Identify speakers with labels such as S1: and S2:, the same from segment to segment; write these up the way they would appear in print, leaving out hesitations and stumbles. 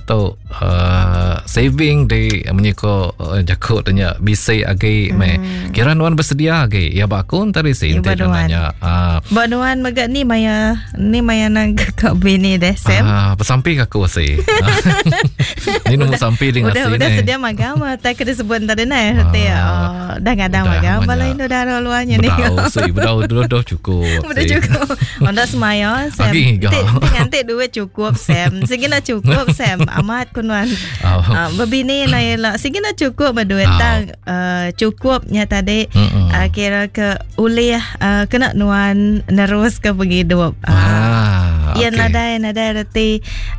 S1: tu uh, saving di menyiko uh, jaku tu nya bisi agi mm. meh. Kira nuan bersedia agi. Ya ba aku tadi si enti nanya.
S2: Uh, ba nuan mega ni maya ni maya nang ka bini deh Sam.
S1: Ah, besampi ke aku si. ni nemu sampi di
S2: ngasi ni. Udah sedia magam tai ke disebut tadi nai. Ah, dah ngadang magam bala indu dara luarnya ni.
S1: Bedau si, bedau dulu dah cukup.
S2: Udah cukup. Onda semaya Sam. Ti nganti duit cukup Sam. Sigi nak cukup Sam. Amat kunuan. Oh. Uh, bebini na ila sigi nak cukup berduit oh. tang uh, cukupnya tadi uh, kira ke ulih uh, kena nuan nerus ke penghidup.
S1: Uh, ah,
S2: ya okay. nadai nadai reti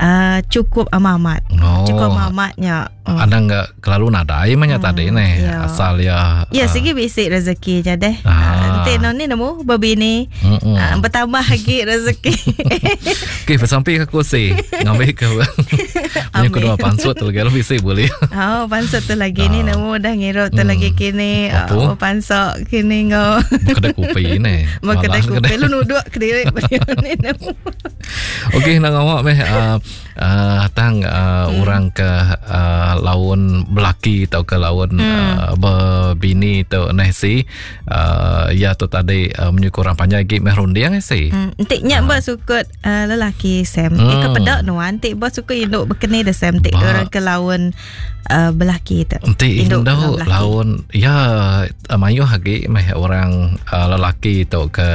S2: uh, cukup amat. Oh. Cukup amatnya.
S1: Oh. Anang enggak kelalu nadai mah nya hmm, tadi neh ya. asal ya.
S2: Ya uh, sigi bisi rezeki nya deh. Ah. Enti no ni nemu bebini uh, bertambah lagi rezeki.
S1: Okey besampi ke aku si ngambil ke. Punya kedua pansut tu lagi bisi boleh.
S2: Oh pansut tu lagi ni nemu dah ngirup tu hmm. lagi kini. Oh pansut kini ngau.
S1: Kedai kopi ni.
S2: Kedai kopi lu nuduk ke diri ni nemu.
S1: Okey nang awak meh uh, uh, tang uh, hmm. orang ke uh, laun belaki atau ke laun hmm. uh, berbini tu neh si uh, ya tu tadi uh, menyukur orang panjai gi meh runding eh, si.
S2: Hmm. Entik nyak uh. ba sukut uh, lelaki Sam. Hmm. Ika pedak nuan entik ba suka induk bekeni de Sam entik orang ke laun uh, belaki tu.
S1: Entik induk laun ya mayuh agi meh orang uh, lelaki tu ke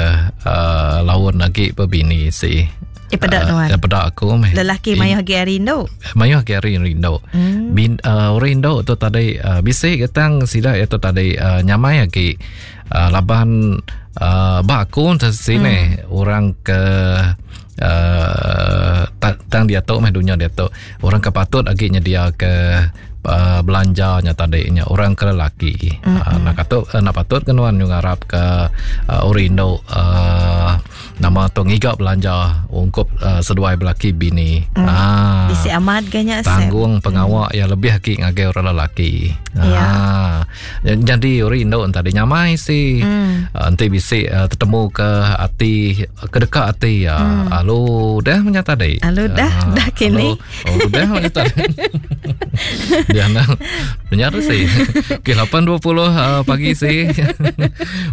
S1: uh, laun agi berbini si.
S2: Eh peda uh, nuan.
S1: Eh peda aku meh.
S2: Lelaki mayuh agi ari indu.
S1: Mayuh agi ari indu. Hmm. Bin uh, orang indu tu tadi uh, bisi getang sida itu tadi uh, nyamai agi uh, laban uh, ba aku sini hmm. orang ke uh, tang dia tu meh dunya dia tu orang ke patut agi nyedia ke uh, belanja nya tadi nya orang ke lelaki. Mm-hmm. Uh, nak patut uh, nak patut ke nuan ngarap ke uh, orang indu uh, Nama tu ngiga belanja ungkup uh, seduai belaki bini.
S2: Mm. Ah. Bisi amat ganya
S1: Tanggung pengawa mm. yang lebih agi ngagai orang lelaki.
S2: Ya.
S1: Ah. Jadi orang indu tadi nyamai si.
S2: Mm.
S1: Uh, enti bisi uh, tetemu ke ati ke dekat ati ya. Mm. Alu dah menya tadi.
S2: Alu dah uh, dah kini.
S1: Alu, oh dah menya tadi. Dia nak Benar sih. Okey 8.20 uh, pagi sih.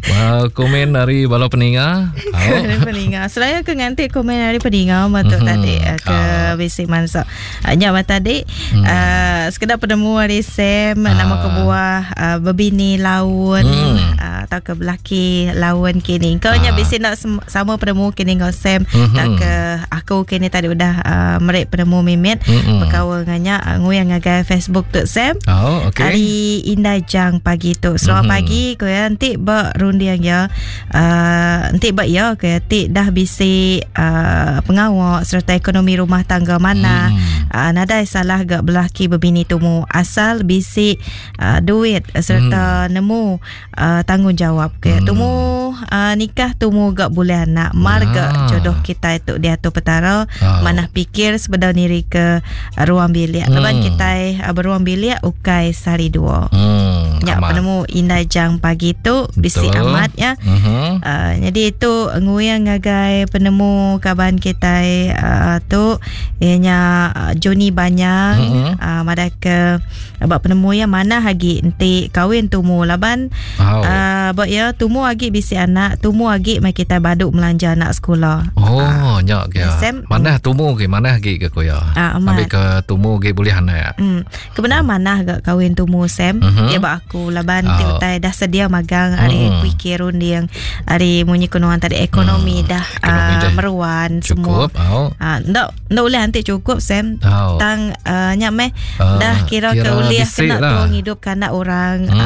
S1: Uh, komen dari bala peninga.
S2: Oh. peninga. Selaya ke nganti komen dari peninga matuk mm-hmm. tadi eh, ke uh. bisi mansa. Uh, nya tadi mm. uh, sekedar penemu dari Sam uh. nama kebuah uh, bebini laun mm. uh, atau ke belaki laun kini. Kau nya uh. bisi nak sama penemu kini ngau Sam mm-hmm. tak ke aku kini tadi udah uh, merik penemu mimit mm-hmm. berkaul nganya uh, nguyang ngagai Facebook tu Sam.
S1: Oh, okay.
S2: Hari Indai Jang pagi tu. Selamat mm-hmm. pagi ko ya nanti ba runding ya. Uh, nanti ba ya ke ti dah bisi uh, pengawa serta ekonomi rumah tangga mana. Mm. Uh, nadai salah gak belaki bebini tumu asal bisi uh, duit serta mm. nemu uh, tanggungjawab ke hmm. tumu uh, nikah tumu gak boleh anak mar ah. gak jodoh kita itu diatur petara oh. manah pikir sebedau niri ke uh, ruang bilik hmm. laban kita uh, beruang bilik ukai sehari dua
S1: hmm.
S2: Nyak penemu indai jang pagi tu bisi amat ya.
S1: Mm-hmm.
S2: Uh, jadi itu nguyang ngagai penemu kaban kita uh, tu ianya uh, Johnny Banyang
S1: mm-hmm.
S2: uh, madah ke Ba penemu iya manah agi enti kawin tumu laban
S1: oh.
S2: uh, ba iya tumu agi bisi anak, tumu agi mai kitai badu melanja anak sekula.
S1: Oh, uh, nya ke.
S2: Sam,
S1: manah tumu ke manah agi ke ko iya.
S2: Uh,
S1: Ambil ke tumu agi boleh anak.
S2: Hmm. Kebenar manah ga kawin tumu Sam.
S1: Mm-hmm.
S2: Ya ba aku laban oh. ti utai dah sedia magang ari mm. pikir runding ari munyi kunuan tadi ekonomi
S1: mm.
S2: dah
S1: ekonomi
S2: uh,
S1: dah
S2: meruan
S1: cukup,
S2: semua.
S1: Oh.
S2: Uh, ndak Enda ulih anti cukup Sam.
S1: Oh.
S2: Tang uh, nya meh
S1: uh,
S2: dah kira,
S1: kira
S2: ke ulih kena
S1: lah.
S2: tua ngidup ke anak orang
S1: hmm.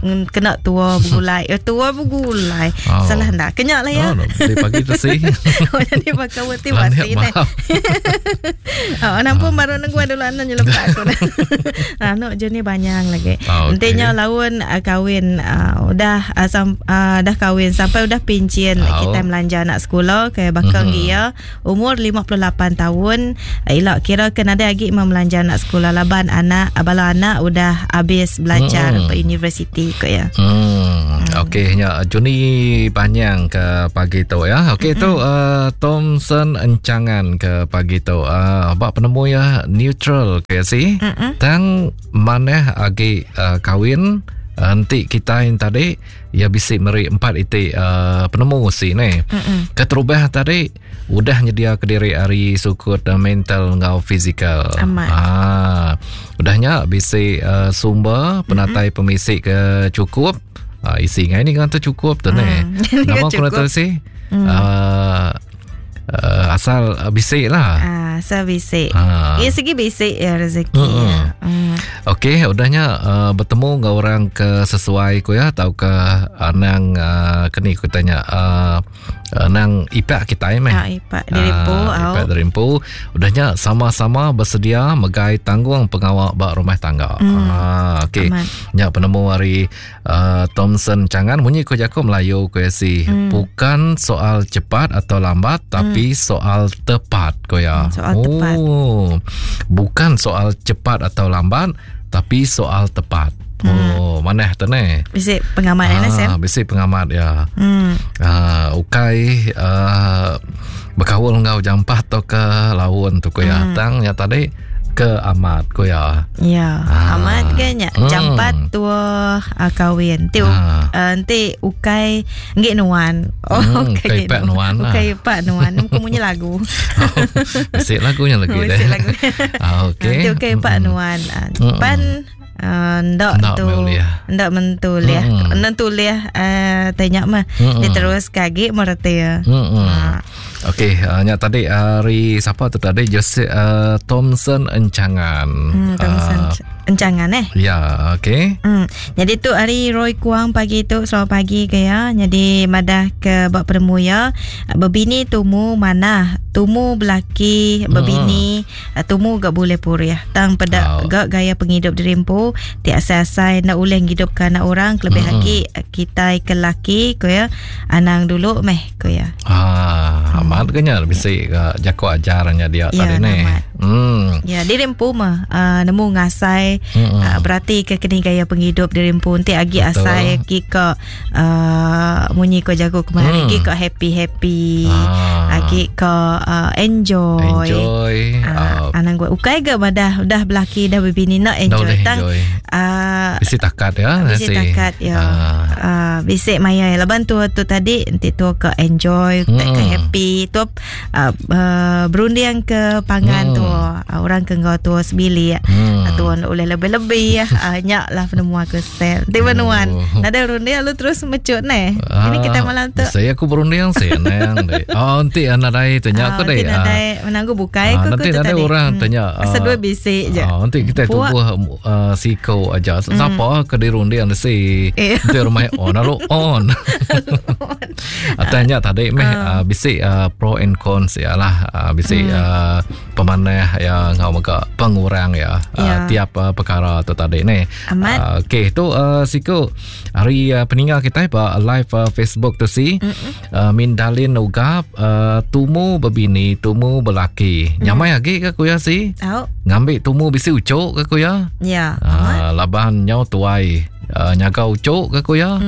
S2: uh, kena tua begulai. Eh, tua begulai.
S1: Oh.
S2: Salah ndak? Kenyak lah ya.
S1: Oh, di pagi tu sih.
S2: oh, jadi pakai wati wasi ni. Oh, nampu baru nunggu dulu anu nyelepak aku. Anu je ni banyak lagi.
S1: Oh, okay.
S2: Entinya laun uh, kahwin uh, udah uh, sam, uh, dah kahwin sampai udah pincin
S1: Oh.
S2: kita melanja anak sekolah ke bakal
S1: Mhm.
S2: mm-hmm. dia umur 58 tahun ila kira ke nadai agi meh melanja anak sekolah laban anak bala anak udah habis belajar
S1: Mm-mm.
S2: ba universiti ko ya.
S1: Hmm. Okey nya Juni Banyang ke pagi tu ya. Okey mm-hmm. tu uh, Thompson Encangan ke pagi tu. Uh, bak penemu ya neutral ke si. Mm-hmm. Tang manah agi uh, kawin enti kita yang tadi ya bisi meri empat iti uh, penemu si ni. Mm-hmm. Keterubah tadi udah nyedia ke diri ari sukut uh, mental enggau fizikal.
S2: Amat.
S1: Ah, udahnya bisi uh, sumber penatai mm-hmm. pemisi ke cukup. Uh, isi ngai ni kan tu cukup tu mm. ni. Nama aku nak si. Mm. Uh, uh, asal uh, bisik lah.
S2: Ah, asal bisik. Ah. Ya segi bisik ya rezeki. Mm. Ya.
S1: Mm. Okey, udahnya uh, bertemu dengan orang ke sesuai ku ya atau ke anang uh, keni ku tanya uh, nang ipak kita meh.
S2: Ah, ipak dirimpu.
S1: Ah, ipak dirimpu. Udahnya sama-sama bersedia megai tanggung pengawal bak rumah tangga.
S2: Mm.
S1: Ah, okey. Nya penemu hari Thompson Changan munyi ko jaku Melayu ko si hmm. bukan soal cepat atau lambat tapi hmm. soal tepat ko ya.
S2: Soal oh, tepat.
S1: Bukan soal cepat atau lambat tapi soal tepat. Hmm. Oh, mana tu ni?
S2: Bisi pengamat ya, Sam?
S1: Bisi pengamat ya. Hmm. Uh, ukai uh, berkaul enggau jampat atau ke laun tu ko ya. Hmm. Tang ya tadi ke amat ko ya.
S2: Ya, ah. amat ke nya. Hmm. Jampat tua uh, kahwin. Ti ah. uh, enti ukai nggik nuan.
S1: Oh, hmm, ukai pak nuan
S2: lah. Ukai pak nuan. Ku munyi lagu.
S1: Bisik lagunya lagi deh.
S2: Bisik lagu.
S1: Ah, okey.
S2: Enti ukai pak hmm. nuan. Hmm. Pan ndak tu ndak mentulih mm. nentulih uh, tanya mah mm. dia terus kagi mereti ya.
S1: Mm. Uh. Okey, uh, nya tadi hari uh, siapa tu tadi Joseph uh, Thompson Encangan.
S2: Hmm, Thompson uh, Encangan eh.
S1: Ya, okey.
S2: Hmm. Jadi tu hari Roy Kuang pagi tu selamat pagi ke ya. Jadi madah ke bak peremu ya. Bebini tumu manah, tumu belaki bebini hmm. tumu gak boleh purih. Tang peda oh. gak gaya penghidup dirimpu ti asai-asai nak ulih ngidup ke anak orang kelebih hmm. lagi kita ke laki ko ya. Anang dulu meh ko ya.
S1: Ah, amat ke nya bisi ke jaku ajarnya dia
S2: ya,
S1: tadi ni.
S2: Hmm. Ya, dirimpu mah uh, nemu ngasai hmm. uh, berarti ke kini gaya penghidup dirimpu nanti agi asai agi ke uh, munyi ko jago kemarin agi ke happy-happy ah. agi ke uh, enjoy.
S1: Enjoy.
S2: Uh, anang gua ukai ke badah udah belaki dah bebini nak enjoy
S1: tang. Uh, bisi takat ya.
S2: Bisi takat ya. Uh. Uh, bisi maya laban tu tu tadi nanti tu ke enjoy hmm. ke happy tu uh, uh, berunding ke pangan hmm. tu uh, orang ke ngau tu sebilik hmm. tu oleh lebih-lebih uh, nyak lah penemu aku sel. Nanti penuan. Oh. Nada berunding lu terus mecut ne. Uh, Ini kita malam tu.
S1: Saya aku berunding sih nang deh. Oh nanti nadai tanya aku deh.
S2: Nanti nadai menanggu bukai
S1: aku nanti ada orang tanya.
S2: Asal dua bisik je.
S1: Nanti kita tubuh siko aja. Siapa ke dirunding si. Nanti rumah on lalu on. Tanya tadi meh bisik pro and cons ya lah. Bisik pemanah ya ngau mega pengurang ya tiap perkara tu tadi ni.
S2: Amat.
S1: Okey tu siku hari peninggal kita ba live Facebook tu si Mindalin Ugap tumu berbini tumu belaki. Nyamai lagi ke ku ya si?
S2: Tau.
S1: Ngambil tumu bisi ucuk ke ku ya?
S2: Ya.
S1: Laban nyau tuai nyaga ucuk ke ku ya?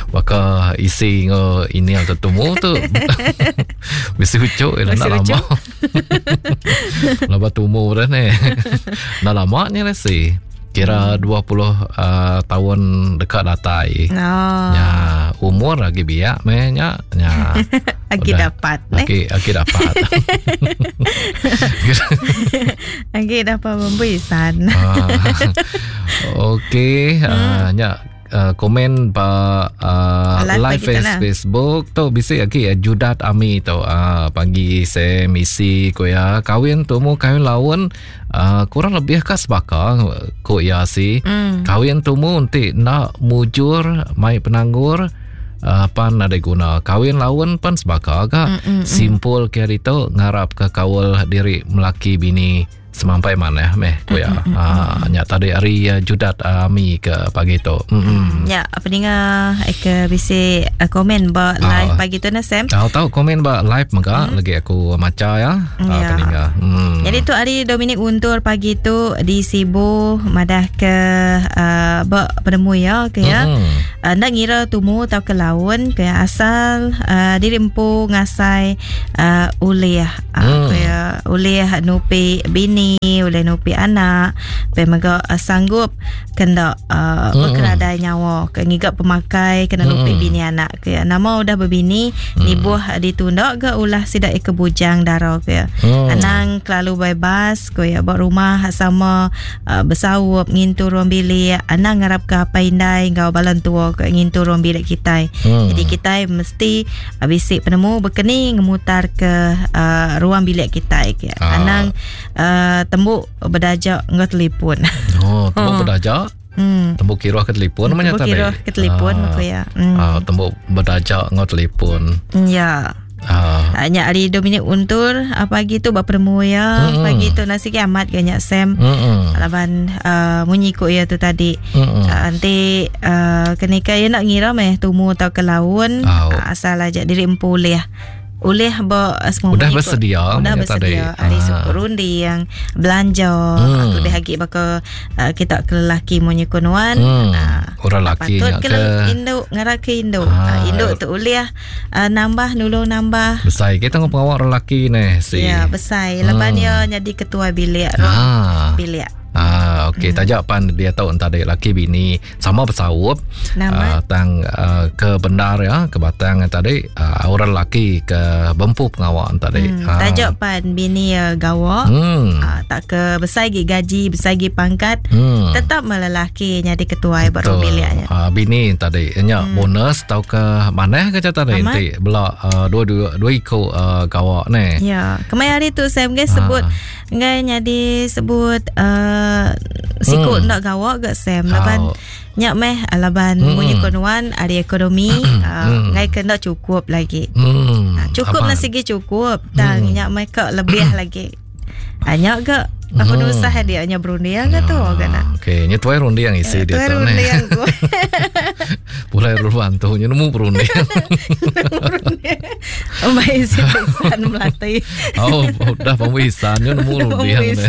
S1: Baka isi ngo ini atau tumu tu. Bisi ucuk ila nak lama. Laba tumu dah ni. Nak lama ni lah si. Kira 20 tahun dekat datai.
S2: Oh.
S1: Ya, umur lagi biak meh nya. Ya.
S2: Lagi dapat
S1: ne. Lagi dapat.
S2: Lagi dapat membisan.
S1: Okey, nya komen ba live Facebook tu bisi lagi Judat Ami tu pagi saya misi ko ya kawin tumu kawin laun kurang lebih ka sebaka ko ya si kawin tumu nanti nak mujur mai penanggur pan ada guna kawin laun pan sebaka ka simpul ke itu ngarap ke kawal diri melaki bini. Semampai manah meh ku iya. Ha nya tadi ari eh, Judat Ami ke pagi tu.
S2: Hmm. Ya, peninga eh, ke bisi eh, komen ba live pagi tu nah Sam.
S1: Tau tau komen ba live mega lagi aku maca ya.
S2: Ya.
S1: Peninga.
S2: Jadi tu ari Dominic Untur pagi tu di Sibu madah ke uh, ba penemu ya ke ya. Uh, nda ngira tumu tau ke laun ke asal uh, diri empu ngasai uh, ulih uh, ke ya, ulih nupi bini, ulih nupi anak, pe mega uh, sanggup kena uh, bekeradai nyawa ke ngiga pemakai kena nupi bini anak ke ya. Nama udah bebini nibuh ditunda ke ulah sida ke bujang dara ke ya. Anang kelalu bebas ko ya ba rumah sama uh, besaup ngintu ruang bilik, anang ngarap ke apai indai enggau bala entua ke ngintu ruang bilik kitai. Jadi kitai mesti uh, bisi penemu bekeni ngemutar ke uh, ruang bilik kitai ke. Anang uh, tembuk bedajak enggau telefon.
S1: Oh, tembuk bedajak. Tembuk kiruh ke telefon namanya
S2: Tembuk
S1: tadi.
S2: kiruh ke telefon aku ya.
S1: Tembuk bedajak enggau telefon.
S2: Ya. Nya hari Dominic Untur pagi tu berperemu ya. Pagi tu nasi ke amat ke nya Sam. Laban munyi ku ya tu tadi. Nanti kenika ya nak ngira meh tumu atau ke laun asal aja diri empu ulih. Ulih ba semua
S1: Udah
S2: munyi ku.
S1: bersedia
S2: Udah
S1: munyi tadi.
S2: bersedia. Hari suku rundi yang belanja. Lebih lagi baka kita ke lelaki munyi ku nuan.
S1: Orang lelaki
S2: Patut
S1: nya
S2: ke
S1: ke
S2: induk, ngara ke induk. Induk tu ulih nambah, nulung nambah.
S1: Besai kita ngau pengawak orang lelaki ni si.
S2: Ya, besai. Lepas dia jadi ketua bilik, ruang bilik.
S1: Okey, tajak pan dia tahu entah dia laki bini sama bersaup. Tang ke bendar ya, ke batang yang tadi orang lelaki ke bempu pengawak tadi.
S2: Tajak pan bini ya gawak. Tak ke besai gi gaji, besai gi pangkat. Tetap melelaki jadi ketua baru biliknya.
S1: Bini tadi nya bonus tau ke manah ke tadi nanti bela dua dua iko gawak ni.
S2: Ya, kemai hari tu saya mungkin sebut ngai jadi sebut siku nak gawak ke Sam laban nyak meh laban munyi konuan ari ekonomi ngai kena cukup lagi. Cukup lah segi cukup tang nyak meh ke lebih lagi. Nyak ke apa nusah dia nya berundiang ke tu ke nak.
S1: Okey, nya tuai rundiang isi dia tu ni. Pulai ruan tu nya nemu berundiang.
S2: Mai isi pisan melati.
S1: Oh, dah pemisan nya nemu rundiang ni.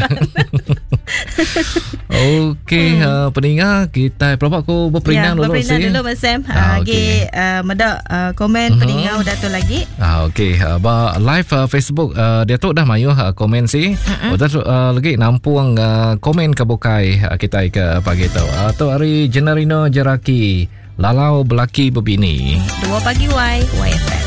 S1: Okey, peninga kita pelabak ku berperindang
S2: ya,
S1: dulu
S2: berperindang
S1: sih.
S2: dulu Mas Sam. Lagi medak komen peninga udah tu lagi.
S1: Okey, ba live Facebook dia tu dah mayuh komen sih. Udah lagi nampung komen ke bukai kita ke pagi tu. Tu hari Generino Jeraki Lalau Belaki Bebini.
S2: 2 pagi Y YFM.